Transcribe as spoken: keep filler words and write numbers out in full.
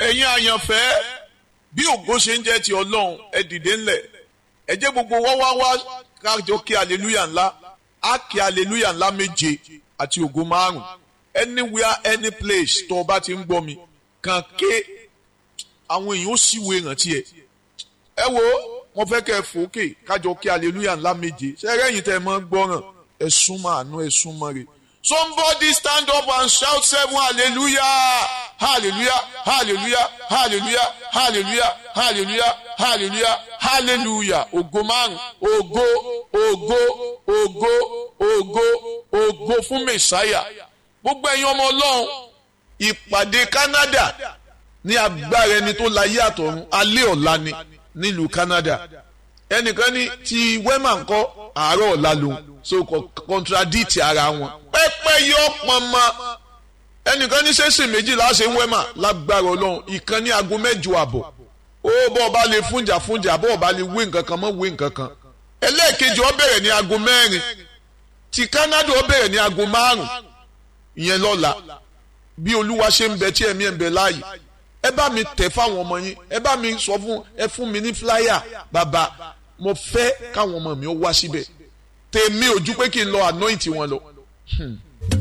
Ẹ̀yin àyànfẹ́, bí ògo ṣe ń jẹ́ ti Ọlọ́run, ẹ dìde ńlẹ̀. Ẹ jẹ́ gbogbo wá wá wá kájọ kí hallelujah ńlá. Á kí hallelujah ńlá méje àti ògo márùn. Anywhere, any place tó o bá ti ń gbọ́ mi, kàn ké, àwọn èèyàn ó sì wo ìrántí ẹ. Ẹ wo, mo fẹ́ kẹ́ ẹ fòókè kájọ kí hallelujah ńlá méje. Ṣé ẹrẹ́yìn tẹ́ ẹ mọ́ ń gbọ́ràn? Ẹ súnmọ́ àánú, ẹ súnmọ́ rẹ̀. Somebody stand up and shout seven hallelujah, hallelujah, hallelujah, hallelujah, hallelujah, hallelujah, hallelujah, hallelujah. Ògo márùn, ògo, ògo, ògo, ògo, ògo fún Mèsáyà. Gbogbo ẹ̀yin ọmọ Ọlọ́run, ìpàdé Canada ní agbára ẹni tó láyé àtọ̀run alẹ́ ọ̀la ni nílùú Canada. Ẹnìkan ní ti Wema ńkọ́, àárọ̀ ọ̀la lòun, so contradict ara wọn. Pẹ́pẹ́ yọ pọnmọ. Ẹnìkan ní sẹ́sìn méjìlá ṣe ń Wema lágbára Ọlọ́run, ìkan ní aago mẹ́jọ àbọ̀. Ó bọ́ ọba lè fúnjà fúnjà, bọ́ ọba lè wé nǹkan kan mọ́ wé nǹkan kan. Ẹlẹ́ẹ̀kejì ó bẹ̀rẹ̀ ní aago mẹ́rin. Ti Canada ó bẹ̀rẹ̀ ní aago márùn-ún. Ìyẹn lọ́la. Bí Olúwa ṣe ń bẹ tí ẹ̀mí ẹ̀ ń bẹ láàyè, ẹ bá mi tẹ̀ fáwọn ọmọ yín, ẹ bá mi sọ fún ẹ, fún mi ní flyer, bàbá mo fẹ́ káwọn ọmọ mi ó wá síbẹ̀. Tèmi ò ju pé kí n lọ anoint wọn lọ.